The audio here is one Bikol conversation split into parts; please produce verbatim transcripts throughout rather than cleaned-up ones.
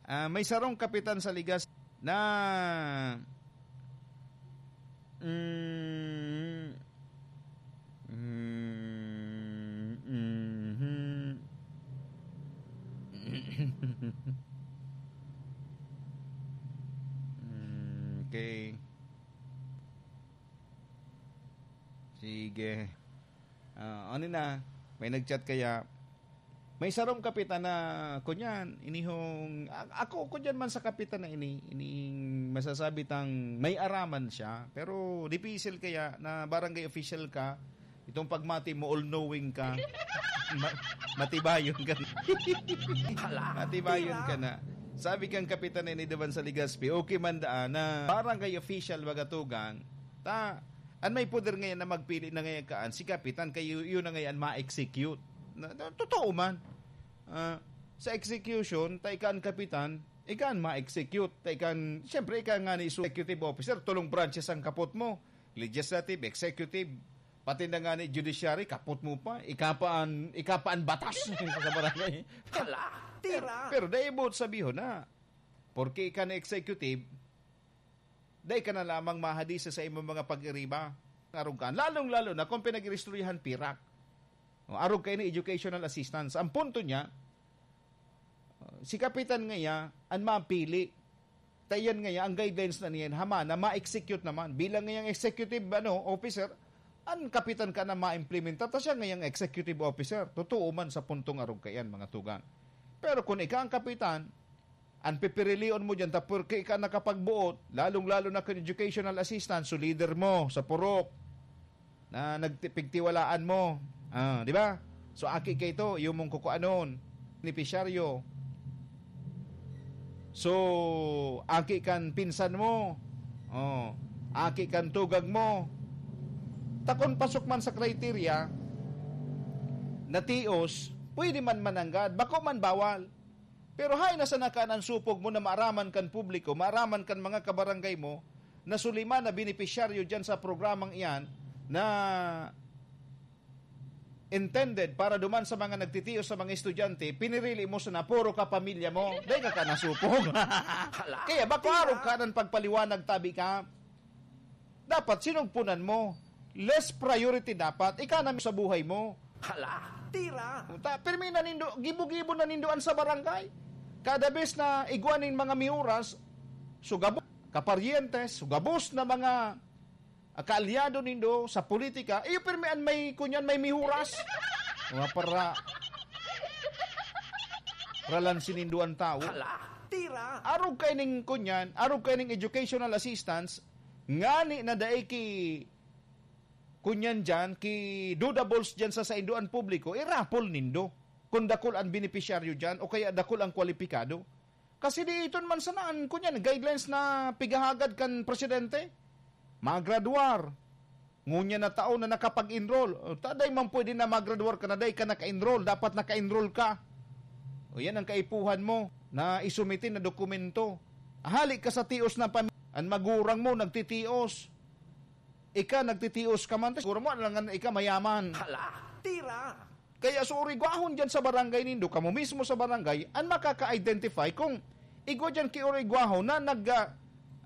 Ah, may sarong kapitan sa Legazpi na, mm, mm, mhm. Mm, okay. Sige. Ah, ano na, may nag-chat kaya, may sarong kapitan na, kunyan, inihong, a-, ako, kunyan man sa kapitan na ini, ining masasabi tang may araman siya, pero dipisil kaya na barangay official ka, itong pagmati mo, all-knowing ka, ma-, matibayon ka. Hala, matibayon tira ka na. Sabi kang kapitan na ini duman sa Legazpi, okay man daan na barangay official, baga tugang, ta, an may poder ngayon na magpili na ngayon kaan, si kapitan, kayo yun na ngayon ma-execute. Na, na, totoo man. Ah, sa execution, ta ika an kapitan, ika an ma-execute. Ta ika an, siyempre, ika nga ni executive officer, tulong branches ang kapot mo. Legislative, executive, pati na nga ni judiciary, kapot mo pa. Ika pa an, ika pa an batas sa barangay. Hala, tira! Pero, pero dai buot sabihon na, porke ika na executive, dai ka na lamang mahadisa sa imong mga pag-iriba. Arog ka. Lalong-lalo na kung pinag-iristoryahan pirak. O, arog kaini educational assistance. Ang punto niya, uh, si kapitan ngaya an mapili. Ta iyan ngaya, ang guidelines na niyan, hama na ma-execute naman. Bilang ngayang executive, ano, officer, an kapitan ka na ma-implementar, ta siya ngayang executive officer. Totoo man sa puntong arog kaiyan, mga tugang. Pero kung ika ang kapitan, an pipirilion mo diyan, ta porke ika nakapagboot, lalong-lalo na kan educational assistance, so leader mo sa purok, na nagti-, pigtiwalaan mo. Ah, di ba? So, aki ka ito, iyo mong kukuanon, benepisyaryo. So, aki kan pinsan mo. Oh, aki kan tugang mo. Ta kun pasok man sa criteria, na tios, pwede man mananggad, bako man bawal. Pero haen na sana kan an supog mo na maaraman kan publiko, maaraman kan mga kabarangay mo, na suliman na benepisyaryo diyan sa programang iyan na intended para duman sa mga nagtitios sa mga estudyante, pinirili mo sana puro kapamilya mo. Dai ka ka nasupog. Hala, kaya bako tira. Arog ka ng pagpaliwanag, tabi ka. Dapat sinugpunan mo. Less priority dapat. Ika na sa buhay mo. Hala, tira. Ta, pirmi na nindo, gibo-gibo na nindo an sa barangay. Kada bes na igwa nin mga miuras, sugabo, kaparyentes, sugabos na mga, ah, kaalyado nindo sa politika, iyo pirmi an may, kunyan, may mihuras. Mga para, ralan sinindo an tao. Hala, tira. Arog kay ning, kunyan, arog kay ning educational assistance, ngani na dai ki, kunyan diyan, ki dudables diyan sa saindoan publiko, irapol nindo. Kung dakul ang benepisyaryo diyan, o kaya dakul ang kwalipikado. Kasi di iton man sana an, kunyan, guidelines na pigahagad kan presidente. Magradwar. Ngunyan na taon na nakapag-enroll. O, ta, dai man pwede na magradwar ka na dai ka naka-enroll. Dapat naka-enroll ka. O, yan ang kaipuhan mo na isumite na dokumento. Hali ka sa tios na pam-, an magurang mo nagtitios. Ika nagtitios ka man, siguro mo, alangan ika mayaman. Hala, tira! Kaya so urigwahon dyan sa barangay nindo, kamo mismo sa barangay, ang makaka-identify kung igwa dyan ki urigwahon na nag, ah,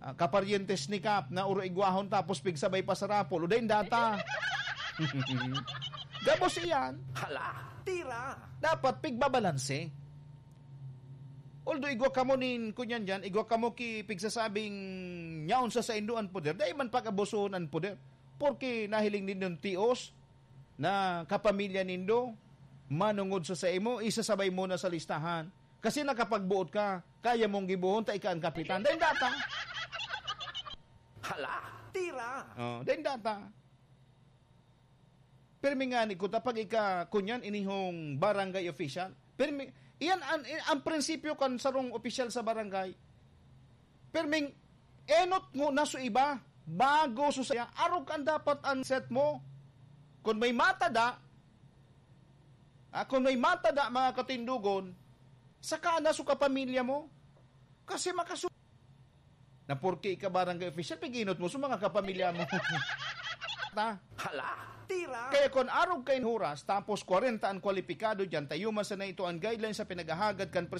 ah, kaparyentes ni Kap na urigwahon tapos pigsabay pa sa rapol, o dahil data. Gabos iyan. Hala, tira! Dapat pigbabalanse. Although igwa kamo nin, kunyan dyan, igwa kamo ki pigsasabing nyaon sa saindo an poder, dai man pag-abusohon an poder. Porke nahiling nindo an tios na kapamilya nindo, manongod sa saimo, isasabay mo na sa listahan. Kasi nakapagboot ka, kaya mong gibohon, ta ika ang kapitan. Dai data. Hala, tira! Oh, dai data. Pirmi ngani ko ta pag ika, kunyan, inihong barangay official. Pirmi, iyan an, an prinsipyo kan sarong opisyal sa barangay. Pirming enot mo na so iba, bago so saya, arog kan dapat an set mo. Kung may matada, ah, kung may matada, mga katindugon, saka na so kapamilya mo. Kasi makasu-, na porke ika barangay official, piginot mo sa mga kapamilya mo. Ta? Hala, tira! Kaya kun arog kain huras, tapos kwarenta an kwalipikado diyan, tayo man sana ito ang guidelines sa pinaghahagad kan